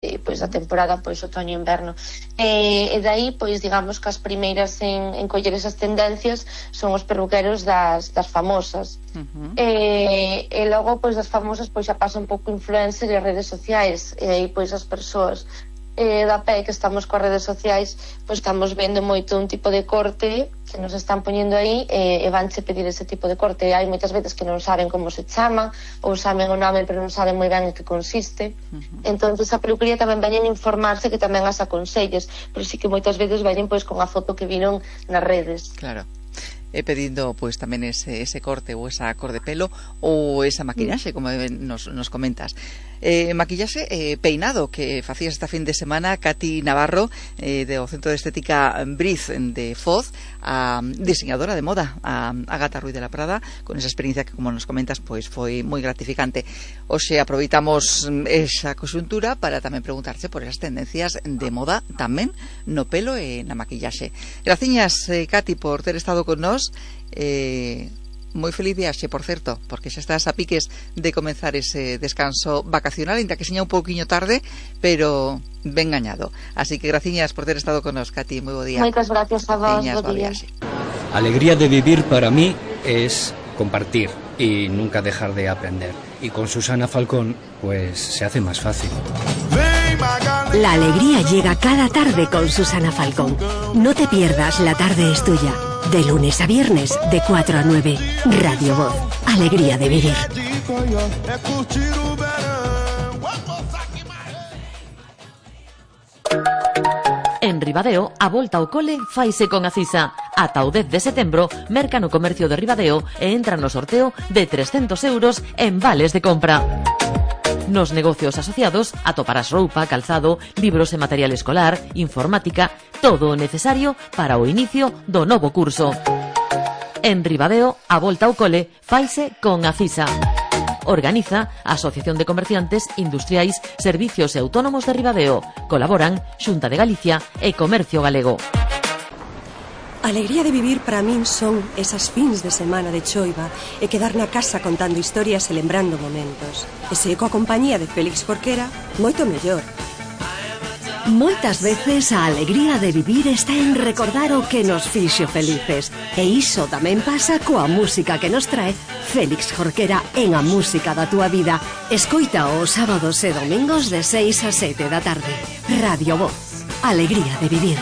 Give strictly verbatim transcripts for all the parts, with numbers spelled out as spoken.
pois da temporada pois outoño-inverno. E, e dai, pois digamos que as primeiras en, en coller esas tendencias son os perruqueros das, das famosas. Uh-huh. E, e logo pois das famosas pois xa pasa un pouco influencer e redes sociais, e aí pois as persoas eh, da pé que estamos coas redes sociais pois estamos vendo moito un tipo de corte que nos están poñendo aí e, e vanche pedir ese tipo de corte. E hai moitas veces que non saben como se chama ou saben o nome pero non saben moi ben en que consiste. Uh-huh. Entón a peluquería tamén veñen informarse, que tamén as aconselles, pero sí que moitas veces veñen pois con a foto que viron nas redes. Claro. E pedindo pues tamén ese, ese corte ou esa cor de pelo ou esa maquillaxe, como nos, nos comentas. Eh, maquillaxe eh, peinado que facías esta fin de semana Katy Navarro eh, do Centro de Estética Briz de Foz, a diseñadora de moda, a Ágata Ruiz de la Prada, con esa experiencia que, como nos comentas, pois foi moi gratificante. Hoxe aproveitamos esa coxuntura para tamén preguntarse por esas tendencias de moda tamén no pelo e na maquillaxe. Graciñas, eh, Katy, por ter estado con nós. Eh, moi feliz viaxe, por certo, porque xa estás a piques de comenzar ese descanso vacacional, ainda que seña un pouquiño tarde, pero ben gañado. Así que graciñas por ter estado con nos, Katy, moi bo día. Moitas gracias a vos, bo día. Alegría de vivir para mí es compartir y nunca dejar de aprender. Y con Susana Falcón, pues se hace más fácil. La alegría llega cada tarde con Susana Falcón. No te pierdas La Tarde es Tuya. De lunes a viernes, de cuatro a nueve. Radio Voz. Alegría de vivir. En Ribadeo, a volta ao cole faise con Acisa. Ata o dez de setembro, merca no comercio de Ribadeo e entra no sorteo de trescentos euros en vales de compra. Nos negocios asociados atoparás roupa, calzado, libros e material escolar, informática, todo o necesario para o inicio do novo curso. En Ribadeo, a volta ao cole faise con Acisa. Organiza a Asociación de Comerciantes Industriais, Servicios e Autónomos de Ribadeo. Colaboran Xunta de Galicia e Comercio Galego. Alegría de vivir para min son esas fins de semana de choiva e quedar na casa contando historias e lembrando momentos. E se coa compañía de Félix Jorquera, moito mellor. Moitas veces a alegría de vivir está en recordar o que nos fixo felices. E iso tamén pasa coa música que nos trae Félix Jorquera en A Música da Túa Vida. Escoita os sábados e domingos de seis a sete da tarde. Radio Voz. Alegría de vivir.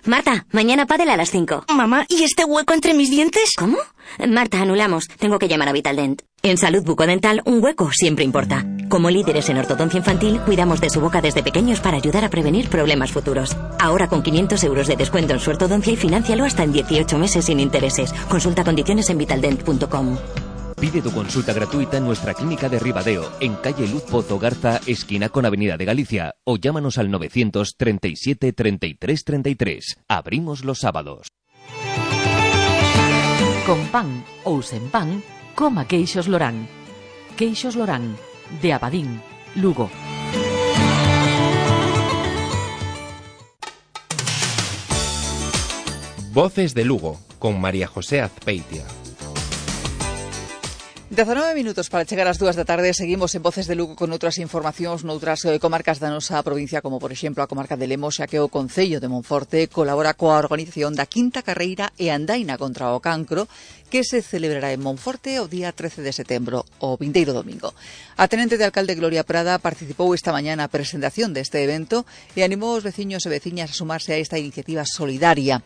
Marta, mañana pádel a las cinco. Mamá, ¿y este hueco entre mis dientes? ¿Cómo? Marta, anulamos. Tengo que llamar a Vitaldent. En Salud Bucodental, un hueco siempre importa. Como líderes en ortodoncia infantil, cuidamos de su boca desde pequeños para ayudar a prevenir problemas futuros. Ahora con quinientos euros de descuento en su ortodoncia y financialo hasta en dieciocho meses sin intereses. Consulta condiciones en vitaldent punto com. Pide tu consulta gratuita en nuestra clínica de Ribadeo, en calle Luz Pozo Garza, esquina con Avenida de Galicia, o llámanos al novecientos treinta y siete treinta y tres treinta y tres. Abrimos los sábados. Con pan ou sen pan, coma Queixos Lorán. Queixos Lorán, de Abadín, Lugo. Voces de Lugo, con María José Azpeitia. dezanove minutos para chegar ás dúas da tarde. Seguimos en Voces de Lugo con outras informacións noutras eh, comarcas da nosa provincia, como por exemplo a comarca de Lemos, xa que o Concello de Monforte colabora coa organización da quinta carreira e andaina contra o cancro, que se celebrará en Monforte o día trece de setembro, o vindeiro domingo. A tenente de alcalde Gloria Prada participou esta mañá na presentación deste evento e animou os veciños e veciñas a sumarse a esta iniciativa solidaria.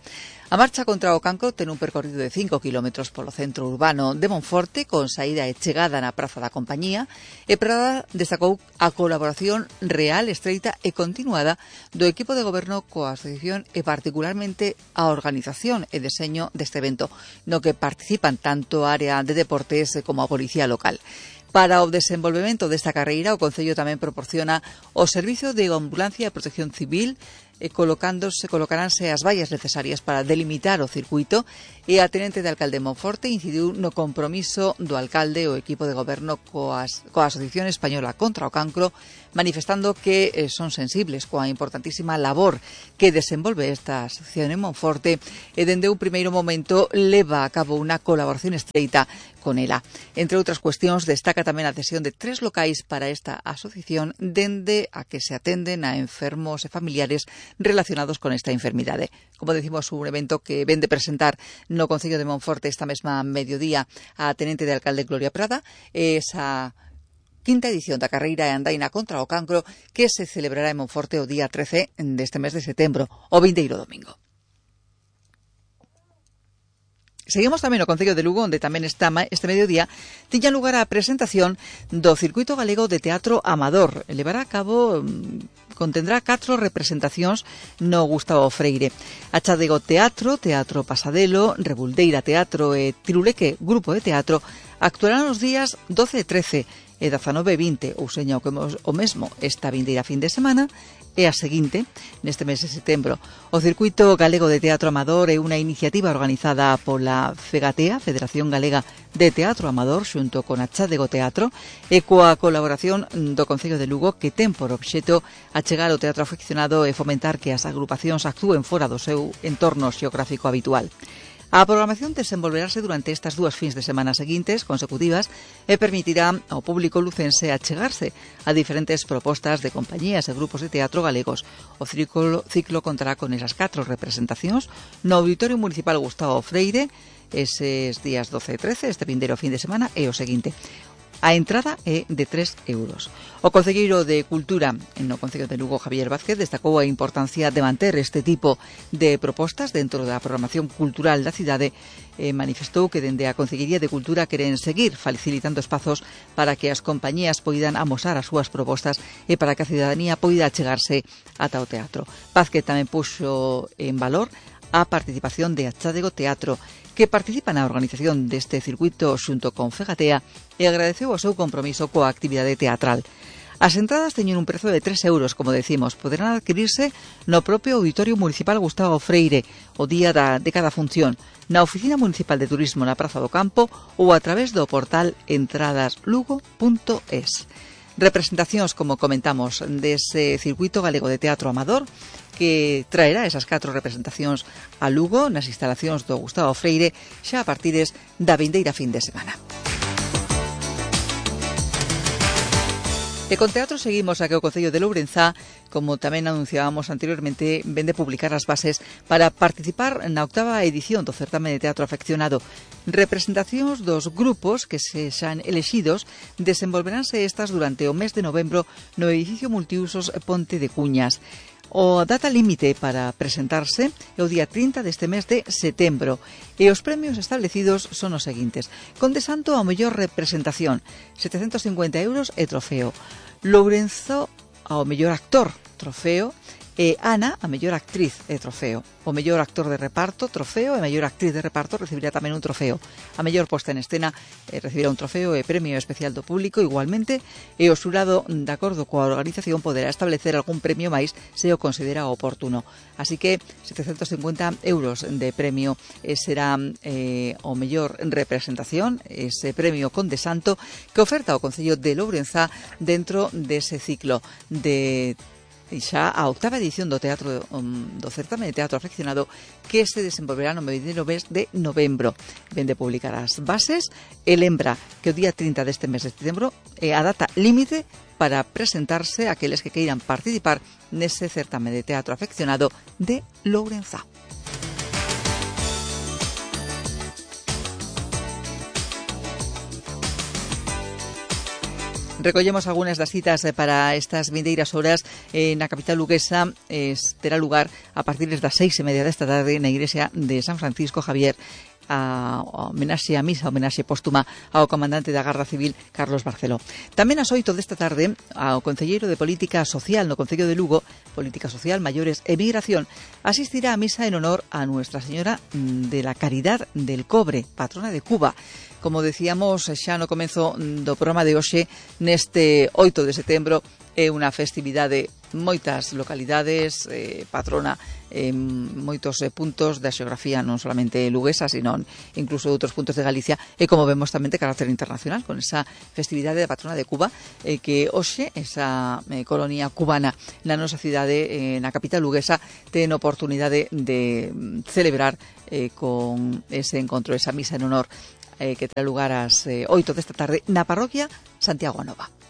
A marcha contra o cancro ten un percorrido de cinco kilómetros polo centro urbano de Monforte, con saída e chegada na Praza da Compañía, e Prada destacou a colaboración real, estreita e continuada do equipo de goberno coa asociación e particularmente a organización e deseño deste evento, no que participan tanto a área de deportes como a policía local. Para o desenvolvemento desta carreira, o Concello tamén proporciona o servizo de ambulancia e protección civil e colocándose, colocaránse as vallas necesarias para delimitar o circuito, e a tenente de alcalde de Monforte incidiu no compromiso do alcalde e o equipo de goberno coas, coa Asociación Española contra o Cancro, manifestando que eh, son sensibles coa importantísima labor que desenvolve esta asociación en Monforte e dende un primeiro momento leva a cabo unha colaboración estreita con ela. Entre outras cuestións, destaca tamén a cesión de tres locais para esta asociación dende a que se atenden a enfermos e familiares relacionados con esta enfermidade. Como decimos, un evento que ven de presentar no Concello de Monforte esta mesma mediodía a tenente de alcalde Gloria Prada, esa quinta edición da carreira e andaina contra o cancro que se celebrará en Monforte o día trece deste mes de setembro, o vindeiro domingo. Seguimos tamén no Concello de Lugo, onde tamén está este mediodía tiña lugar a presentación do Circuito Galego de Teatro Amador. Levará a cabo, contendrá catro representacións no Gustavo Freire. Achadego Teatro, Teatro Pasadelo, Rebuldeira Teatro e Tiruleque Grupo de Teatro actuarán os días doce e trece e dezanove e vinte, ou seña o, que o mesmo esta vindeira fin de semana, e a seguinte, neste mes de setembro. O Circuito Galego de Teatro Amador é unha iniciativa organizada pola FEGATEA, Federación Galega de Teatro Amador, xunto con a Chádego Teatro, e coa colaboración do Concello de Lugo, que ten por obxeto achegar o teatro aficionado e fomentar que as agrupacións actúen fora do seu entorno xeográfico habitual. A programación desenvolverase durante estas dúas fins de semana seguintes, consecutivas, e permitirá ao público lucense achegarse a diferentes propostas de compañías e grupos de teatro galegos. O ciclo, ciclo contará con esas catro representacións no Auditorio Municipal Gustavo Freire, eses días doce e trece, este vindeiro fin de semana, e o seguinte. A entrada é de tres euros. O concelleiro de Cultura no Concello de Lugo, Javier Vázquez, destacou a importancia de manter este tipo de propostas dentro da programación cultural da cidade e manifestou que dende a Concellería de Cultura queren seguir facilitando espazos para que as compañías poidan amosar as súas propostas e para que a cidadanía poida achegarse ata o teatro. Vázquez tamén puxo en valor a participación de Achádego Teatro, que participa na organización deste circuito xunto con FEGATEA e agradeceu o seu compromiso coa actividade teatral. As entradas teñen un prezo de tres euros, como decimos, poderán adquirirse no propio Auditorio Municipal Gustavo Freire o día da, de cada función, na Oficina Municipal de Turismo na Praza do Campo ou a través do portal entradas lugo punto es. Representacións, como comentamos, dese circuito galego de teatro amador que traerá esas catro representacións a Lugo nas instalacións do Gustavo Freire xa a partires da vindeira fin de semana. E con teatro seguimos a que o Concello de Lourenzá, como tamén anunciábamos anteriormente, vende publicar as bases para participar na octava edición do certame de teatro afeccionado. Representacións dos grupos que se xan elexidos desenvolveránse estas durante o mes de novembro no edificio multiusos Ponte de Cuñas. O data límite para presentarse é o día trinta deste mes de setembro e os premios establecidos son os seguintes. Conde Santo ao mellor representación, setecentos cincuenta euros e trofeo. Lourenzo ao mellor actor, trofeo. E Ana, a mellor actriz e trofeo. O mellor actor de reparto, trofeo, e a mellor actriz de reparto recibirá tamén un trofeo. A mellor posta en escena eh, recibirá un trofeo e premio especial do público igualmente, e o xurado, de acordo coa organización, poderá establecer algún premio máis se o considera oportuno. Así que setecentos cincuenta euros de premio eh, será eh, o mellor representación, ese premio Conde Santo que oferta o Concello de Lourenzá dentro dese ciclo de xa a octava edición do teatro um, do certame de teatro afeccionado que se desenvolverá no vindeiro mes de novembro. Vende publicar as bases e lembra que o día trinta deste mes de setembro é a data límite para presentarse aqueles que queiran participar nese certame de teatro afeccionado de Lourenzá. Recollemos algunhas das citas para estas vindeiras horas eh, na capital luguesa. Eh, terá lugar a partir das seis e media desta tarde na igrexa de San Francisco Javier, a homenaxe a misa, a homenaxe póstuma ao comandante da Garda Civil Carlos Barceló. Tamén ás oito desta tarde ao concelleiro de Política Social no Concello de Lugo, Política Social, Maiores e Migración, asistirá a misa en honor a Nuestra Señora de la Caridad del Cobre, patrona de Cuba. Como decíamos xa no comezo do programa de hoxe, neste oito de setembro é unha festividade moitas localidades, eh, patrona en moitos eh, puntos da xeografía non solamente luguesa, sino incluso de outros puntos de Galicia, e como vemos tamén de carácter internacional, con esa festividade da patrona de Cuba, eh, que hoxe esa eh, colonia cubana na nosa cidade, eh, na capital luguesa, ten oportunidade de celebrar eh, con ese encontro, esa misa en honor eh, que terá lugar ás eh, oito desta tarde na parroquia Santiago Nova.